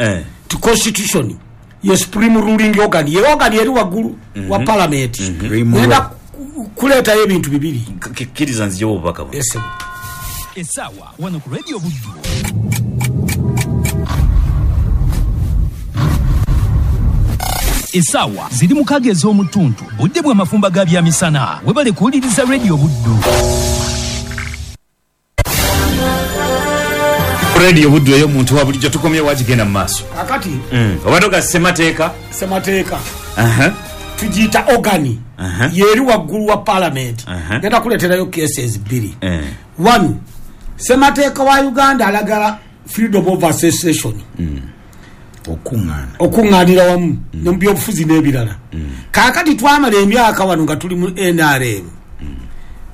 Ti constitution ye supreme ruling organ, ye organ eri waggulu wa parliament. Supreme Ngenda law. kuleetayo ebintu bibiri. Kkiriza nzijewo obubaka buno. Yes, sir. Essaawa wano ku Radio Buddu. Essaawa ziri 6 ez'omutuntu, budde bw'amafumba ga byamisana. Webale kuwuliriza Radio Buddu. Radio Buddu eyo omuntu wa bulijjo. Tukomye wagigenda mu maaso. Kakati Obadde oga ssemateeka. Semateeka tugiyita organ yeri waggulu wa parliament. Ngenda kuleeterayo cases bbiri. One, semateeka wa Uganda alagala freedom of association. Okuŋŋaanira wamu ne mu byobufuzi n'ebirala. Kaakati twamala emyaka wano nga tuli mu NRM,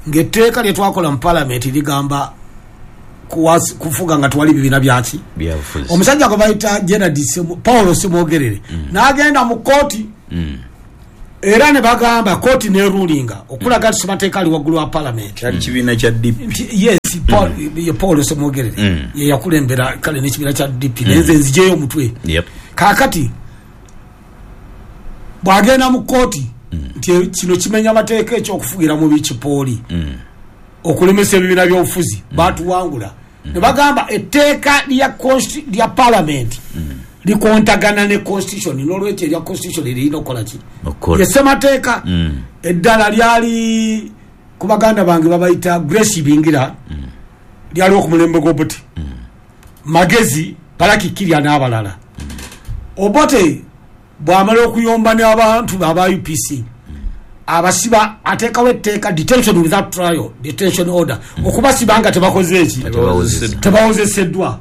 ng'etteeka lye twakola mu palamenti ligamba kufuga nga twali bibiina byaki. Byabufuzi. Omusajja gwe bayita Gerard Paulo Ssemwogerere n'agenda mu kooti, era ne bagamba kooti nerulinga okulaga nti ssemateeka ali waggulu wa palamenti. Kyali kibiina kya DP. Nti yes, ye Paulo Ssemwogerere ye yakulembera kale n'ekibiina kya DP, naye nze nzijeyo omutwe. Kaakati bw'agenda mu kooti nti kino kimenya amateeka ekyokufugira mu bikipooli, okulemesa ebibiina by'obufuzi, batuwangula. Ne bagamba etteeka lya palamenti likontagana ne constitution, n'olwekyo erya constitution lirina okukola ki? Okukola. Ye ssemateeka. Eddala lyali ku baganda bange babayita Grace Bingira, lyaliwo ku mulembe gw'Obote, Magezi, Balaki Kirya n'abalala. Obote bw'amala okuyomba n'abantu aba UPC, abasiba, ateekawo etteeka detention without trial, detention order, okubasiba nga tebakoze eki? Tebawozeseddwa. Tebawozeseddwa.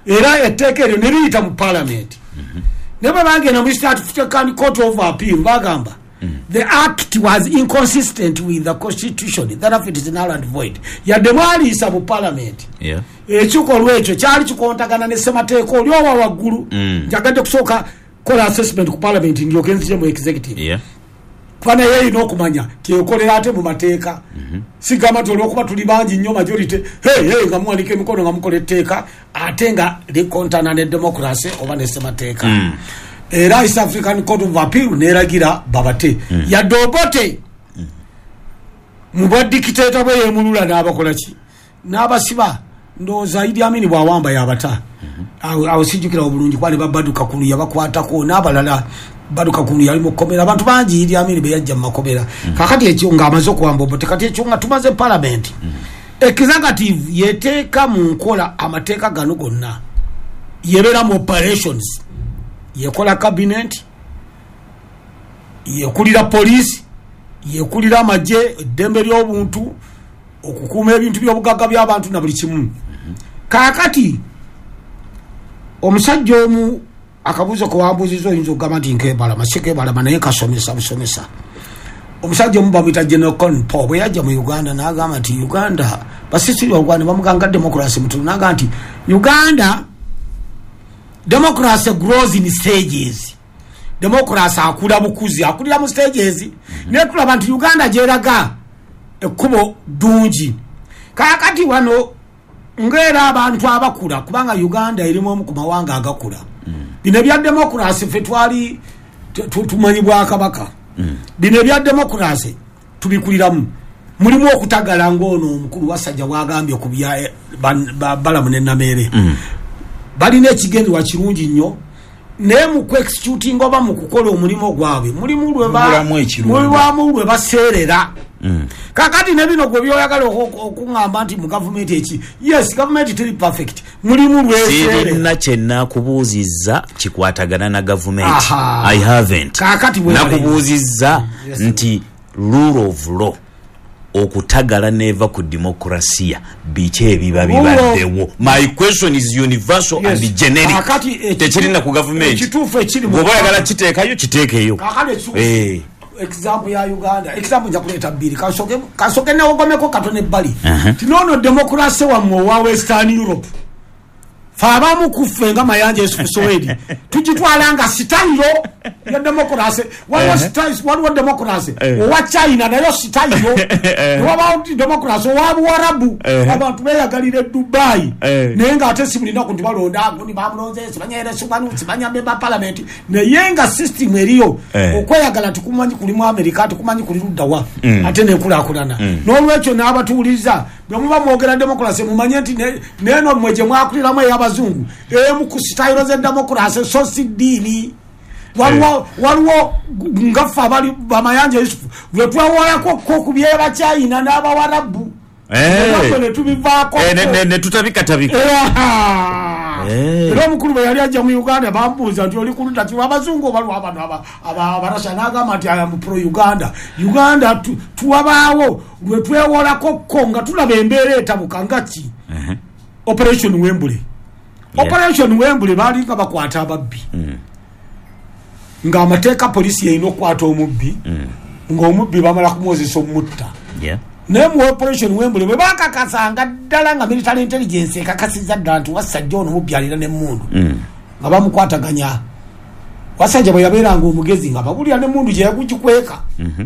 Era etteeka eryo ne liyita mu palamenti. Ne bwe bagenda mu East African Court of Appeal, bagamba the act was inconsistent with the constitution, therefore it is null and void. Yadde mwaliisa mu palamenti, ekikolwa ekyo kyali kikontagana ne ssemateeka oli owa waggulu. Njagadde kusooka kola assessment ku palamenti, ndyoke nzije mu executive, kuba naye erina okumanya tyekolera ate mu mateeka. Sigamba nti olwokuba tuli bangi nnyo, majority, hey, hey, nga muwanika emikono nga mukola etteeka ate nga likontana ne democracy oba ne ssemateeka. Era East African Court of Appeal neragira babate. Yadde Obote mu bwa dictator bwe yemulula n'abakola ki? N'abasiba. Ndowooza Idi Amin bw'awamba yabata. Awo sijjukira obulungi, kuba ne babaduka kulu yabakwatako n'abalala. Baduka kulu yali mu kkomera, abantu bangi Idi Amin be yajja mu makomera. Kakati ekyo ng'amaze okuwamba Obote, kati ekyo nga tumaze palamenti, executive yeteeka mu nkola amateeka gano gonna, yebeera mu operations, yekola cabinet, yekulira poliisi, yekulira amagye, eddembe ly'obuntu, okukuuma ebintu by'obugagga by'abantu na buli kimu. Kaakati omusajja omu, akabuuzo kewambuuziza oyinza okugamba nti nkebalama, si kebalama, naye kasomesa busomesa. Omusajja omu bamuyita General Colin Powell, bwe yajja mu Uganda n'agamba nti Uganda basisiri Uganda bamuganga democracy mutono, n'agamba nti Uganda democracy grows in stages. Democracy akula bukuzi, akulira mu stages. Naye tulaba nti Uganda gyeraga ekkubo ddungi. Kaakati wano ng'era abantu abakula, kubanga Uganda erimu omu ku mawanga agakula, bino ebya democracy ffe twali tumanyi bwakabaka. Bino ebya democracy tubikuliramu, mulimu okutagala ng'ono omukulu Wasajja bwagambye ku bya Balamu ne Nameere. Balina ekigendererwa kirungi nnyo, naye mu kuexecutinga oba mu kukola omulimu gwabwe mulimu Mubulamu ekirungo. Mulimu lwe baseerera. Kakati ne bino gwe byoyagala okuŋŋamba nti mu gavumenti eki, yes, gavumenti teri perfect, mulimu lweseerera. Sirina kye nakubuuzizza kikwatagana na gavumenti. Aha. I haven't. Kaakati bwe Nakubuuzizza Yes. nti rule of law okutagala neva ku demokrasiya, biki ebiba bibaddewo? My question is universal Yes. and generic. Kaakati Tekirina ku gavumenti. ekituufu ekiri mu Bw'oba oyagala kiteekayo, kiteekeyo. Kaakati ekituufu, example ya Uganda, example nja kuleeta bbiri, kansooke newogomeko katono ebbali. Ti noono democracy wammwe owa Western Europe, fe abamu kuffe nga Mayanja Yusufu Sowedi tugitwala nga style ya democracy. Waliwo waliwo democracy owa China, nayo style. Newabawo democracy owa Buwarabu, abantu beyagalira e Dubai, naye ngaate si bulinaku nti balonda gundi, bamulonze simanya eresubanu simanya member parliament, naye nga system eriyo okweyagala tikumanyi kuli mu America, tikumanyi kuli luddawa, ate nekulaakulana. N'olwekyo n'abatuwuliriza, bwe muba mwogera democracy mumanye nti neeno mmwe gye mwakuliramu ey'abazungu emu ku style z'edemocracy, so si ddiini. Waliwo ngaffe abali Bamayanja Yusufu lwe twewolako ko ku byebachina n'Abawarabu, naffe ne tubivaako. Ne tutabikatabika. Era omukulu bwe yali ajja mu Uganda bambuuza nti oli kuludda ki, abazungu oba lwabano Abarasha? N'agamba nti I am pro Uganda. Uganda tuwabaawo lwe twewolako ko nga tulaba embeera etabuka nga ki Operation Wembule. Operation Wembule balinga bakwata ababbi, ng'amateeka polisi yeyina okukwata omubbi, ng'omubbi bamala kumwozesa omutta. Naye mu Operation Wembule bwe bakakasanga ddala nga military intelligence ekakasizza ddala nti Wasajja ono mubbi alina n'emmundu, nga bamukwataganya. Wasajja bwe yabeeranga omugezi nga babulira n'emmundu gye yagugikweka.